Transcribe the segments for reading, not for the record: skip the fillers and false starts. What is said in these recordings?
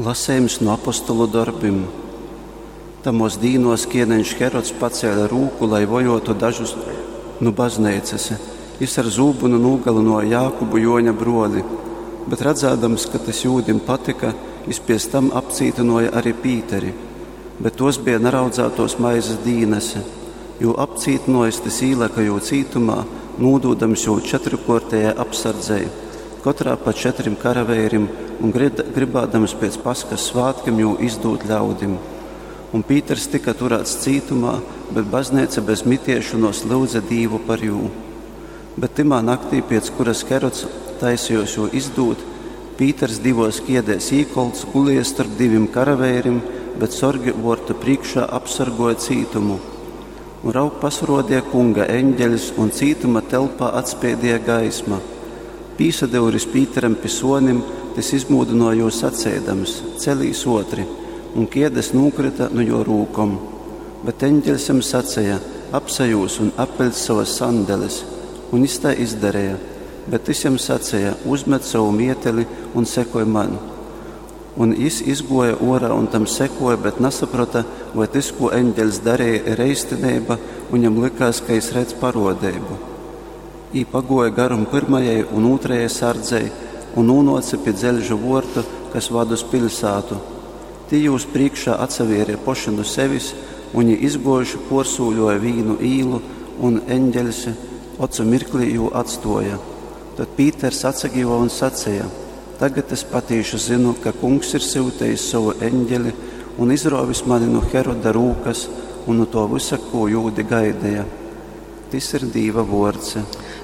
Lasejums nu Apostolu dorbim. Tamuos dīnuos kieneņš Herods pacēle rūku, lai vojuotu dažus nu bazneicas. Jis ar zūbynu nūgalynuoja Jākubu, Juoņa bruoli. Bet radzādams, ka tys jūdim patyka, jis piec tam apcītynuoja ari Pīteri. Bet tuos beja naraudzātuos maizes dīnas. Jū apcītynuojis, tys īlyka jū cītumā, nūdūdams jū četrukuortejai apsardzei, kotrā pa četrim karaveirim, un grybādams piec Paskas svātkim jū izdūt ļaudim. Un Pīters tyka turāts cītumā, bet bazneica bez mitiešonuos lyudze Dīvu par jū. Bet tymā naktī, piec kuras Herods taisejuos jū izdūt, Pīters divuos kiedēs īkolts gulēja storp divim karaveirim, bet sorgi vuortu prīškā apsorguoja cītumu. Un raug, pasaruodeja Kunga eņgeļs, un cītuma telpā atspeidieja gaisma. Pīsadyuris Pīteram pi suonim, tys izmūdynuoja jū saceidams: Celīs uotri! Un kiedes nūkryta nu juo rūkom. Bet eņgeļs jam saceja: Apsajūz un apveļc sovas sandeles. Un jis tai izdareja. Bet tys jam saceja: Uzmet sovu mieteli un sekoj man. Un jis izguoja uorā un tam sekuoja, bet nasaprota, voi tys, kū eņgeļs dareja, ir eistineiba, un jam lykās, ka jis redz paruodeibu. Jī paguoja garum pyrmajai un ūtrajai sardzei un nūnuoce pi dzeļža vuortu, kas vad uz piļsātu. Tī jūs prīškā atsavieria poši nu sevis, un jī izguojuši puorsūļuoja vīnu īlu, un eņgeļs ocu mirklī jū atstuoja. Tod Pīters atsagiva un saceja: Tagad es patīši zynu, ka Kungs ir syutejis sovu eņgeli un izruovis mani nu Heroda rūkas un nu tuo vysa, kū jūdi gaideja. Tys ir Dīva vuords.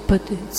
Pateic.